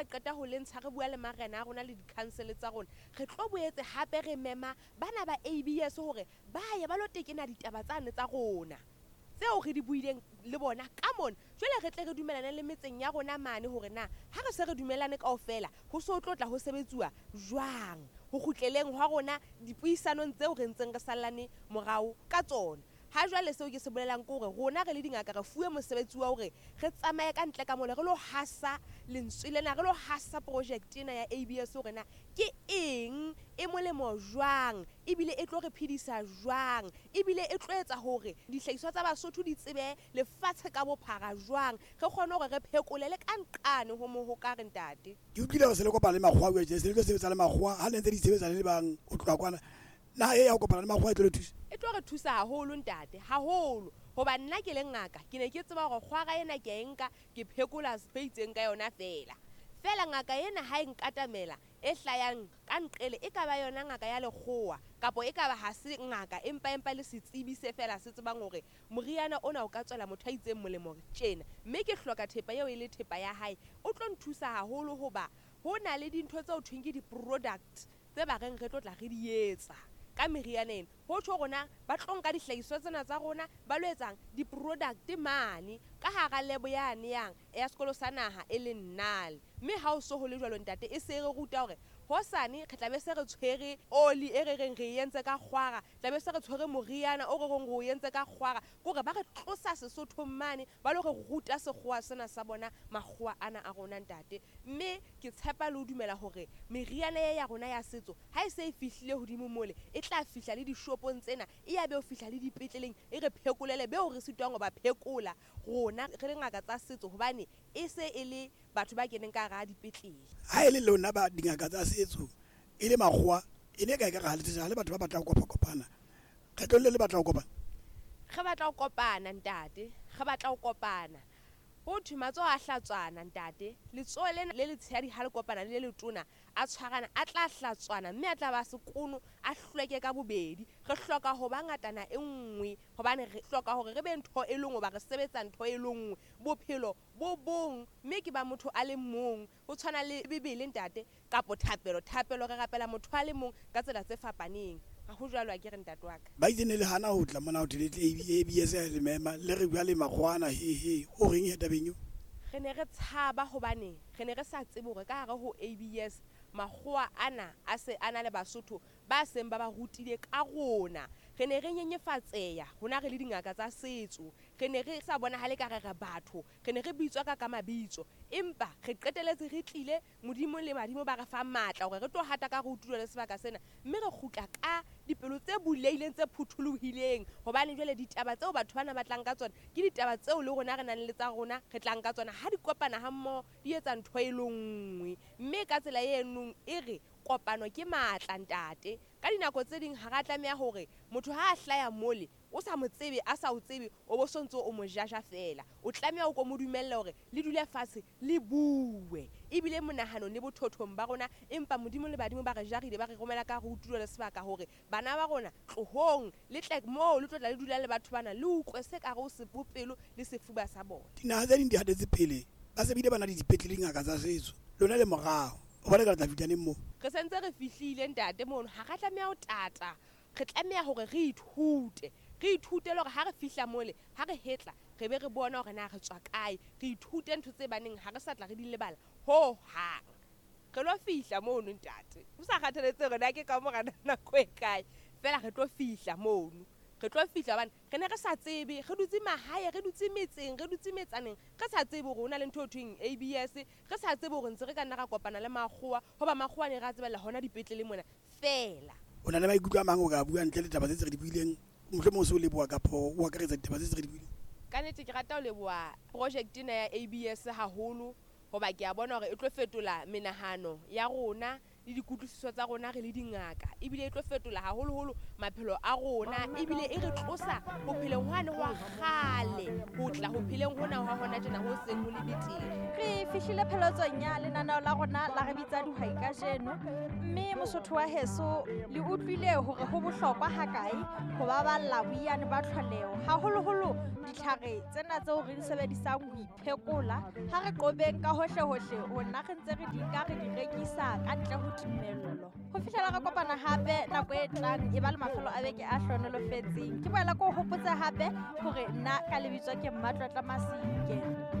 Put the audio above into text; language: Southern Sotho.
re qeta ho le ntsha re bua le marena a rona le di-council tsa rona, re tlo boetse hape re mema bana ba ABS hore ba ye ba lo tekena ditaba tsane tsa rona tseo re di buileng le bona ka mona. Jwale re tle re dumelane le metseng ya rona mane hore na ha re se re dumelane kaofela ho so tlo tla ho sebetsuwa jwang ho kgutleleng hwa rona dipuisanong tseo re ntseng re sallane morao ka tsona. Ha jwale seo ke se bolelang ke hore rona re le dingaka re fuwe mosebetsi wa hore re tsamaye ka ntle ka mole re lo hasa lentswe lena, re lo hasa project ena ya ABS hore na ke eng, e molemo jwang, ebile e tlo re phedisa jwang, ebile e tlo etsa hore dihlahiswa tsa Basotho di tsebe lefatshe ka bophara jwang, re kgone hore re phekole le ka nqane ho mohokare ntate. Ke utlwile hore se le kopana le makgowa jwale, se le tlo sebetsa le makgowa ha le ntse di sebetsa le le bang ho tloha kwana. Na e ya ho kopana le makgowa e tlo le thusa? E tlo re thusa haholo ntate, haholo. Hoba nna ke le ngaka, ke ne ke tseba hore kgwara ena ke a e nka, ke phekola se itseng ka yona feela. Feela ngaka ena ha e nkatamela e hlayang ka nqele, e ka ba yona ngaka ya lekgowa kapa e ka ba ha se ngaka empa empa le setsebi se feela se tsebang hore moriana ona o ka tswela motho a itseng molemo tjena, mme ke hloka thepa eo e le thepa ya hae, o tlo nthusa haholo hoba ho na le dintho tseo thweng ke di-product tse ba reng re tlo tla re di etsa ka meriana ena. Ho tjho rona ba tlo nka dihlahiswa tsena tsa rona ba lo etsang di-product mane ka hara lebo yane yang ya sekolo sa naha e leng Nale. Mme ha o so ho le jwalo ntate, e se re ruta hore hosane re tla be se re tshwere oli e re reng re e entse ka kgwara, tla be se re tshwere moriana o re reng re o entse ka kgwara. Ke hore ba re tlosa Sesothong mane ba lo re ruta sekgowa sena sa bona, makgowa ana a rona ntate. Mme ke tshepa le ho dumela hore meriana e ya rona ya setso ha e se e fihlile hodimo mole, e tla fihla le dishopong tsena, e ya be ho fihla le dipetleleng, e re phekolele beo re sitwang ho ba phekola rona re le ngaka tsa setso, hobane e se e le batho ba keneng ka hara dipetlele. Ha e le lona ba dingaka tsa setso e le makgowa, e ne e ka ekare ha le tsejana le batho ba batlang ho kopa-kopana. Kgetlong le le batla ho kopana? Re batla ho kopana ntate, re batla ho kopana. Ho thwe matsoho a hlatswana ntate, letsoho lena le letshehadi ha le kopana le le letona a tshwarana, a tla hlatswana mme a tla ba sekono, a hlweke ka bobedi. Re hloka ho ba ngatana e nngwe hobane re hloka hore re be ntho e le nngwe, hoba re sebetsa ntho e le nngwe. Bophelo bo bong mme ke ba motho a le mong. Ho tshwana le Bibele ntate, kapo thapelo. Thapelo re rapela motho a le mong ka tsela tse fapaneng. Ha ho jwalo akere ntate wa ka? Ba itse ne le hana ho tla mona ho thwe le tle ABS ya le mema, le re bua le makgowa ana, he he, o reng he tabeng eo? Re ne re tshaba hobane re ne re sa tsebe hore ka hare ho ABS makgowa ana a se a na le Basotho ba seng ba ba rutile ka rona. Re ne re nyenyefatseha rona re le dingaka tsa setso. Re ne re sa bonahale ka re re batho, re ne re bitswa ka ka mabitso, empa re qeteletse re tlile Modimo le badimo ba re fa matla hore re tlo hata ka re utlwile le sebaka sena, mme re kgutla ka dipelo tse bulehileng tse phuthulohileng, hobane jwale ditaba tseo batho bana ba tlang ka tsona ke ditaba tseo le rona re nang le tsa rona re tlang ka tsona. Ha di kopana ha mmoho di etsa ntho e le nngwe, mme ka tsela eno e re kopano ke matla ntate. Ka dinako tse ding ha ra tlameha hore motho ha a hlaya mole o sa mo tsebe, a sa o tsebe, o bo so ntso o mo jaja feela. O tlameha o ko mo dumelle hore le dule fatshe le bue, ebile monahanong le bothothong ba rona. Empa Modimo le badimo ba re jarile, ba re romela ka re utlwile le sebaka hore bana ba rona tlohong le tle moo le tlo tla le dula le batho bana, le utlwe se ka re o pelo le sefuba sa bona. Dinaha tse ding di hatetse pele, ba se bile ba na le dipetlele, dingaka tsa setso, lona le morao. O bona eka le tla fihla neng moo? Re sentse re fihlile ntate mono, ha ra tlameha ho tata, re tlameha hore re ithute. Re ithute le hore ha re fihla mole, ha re hetla, re be re bona hore na re tswa kae. Re ithute ntho tse baneng ha re sa tla re di lebala ho hang. Re lo fihla mono ntate, ho sa kgathaletsehe hore na ke ka mora nako e kae, feela re tlo fihla mono. Re tlo fihla hobane re ne re sa tsebe, re dutse mahae, re dutse metseng, re dutse metsaneng, re sa tsebe hore ho na le ntho e thweng ABS, re sa tsebe hore ntse re ka nna ra kopana le makgowa, hoba makgowa ne re a tsebella hona dipetlele mona feela. O na le maikutlo a mang o ka bua ntle le taba tse tse re di buileng, mohlomong o se o leboha kapa o akaretsa ditaba tse tse re di buileng? Ka nnete ke rata ho leboha project ena ya ABS haholo, hoba ke a bona hore e tlo fetola menahano ya rona le dikutlwisiso tsa rona re le dingaka. Ebile e tlo fetola haholoholo maphelo a rona, ebile e re tlosa ho pheleng hwane hwa kgale ho tla ho pheleng hona hwa hona tjena ho seng ho le betere. Re fihlile pheletsong ya lenaneo la rona la Re Bitsa Dihwai kajeno, mme Mosotho wa heso le utlwile hore ho bohlokwa hakae ho baballa boiyane ba tlholeho, haholoholo ditlhare tsena tseo re di sebedisang ho iphekola. Ha re qobeng ka hohlehohle ho nna re ntse re di nka re di rekisa ka ntle ho tumello. Ho fihlela re kopana hape nako e tlang, e ba le mafelo a beke a hlohonolofetseng. Ke boela ke o hopotse hape hore nna ka lebitso ke Mmatlotla Masike.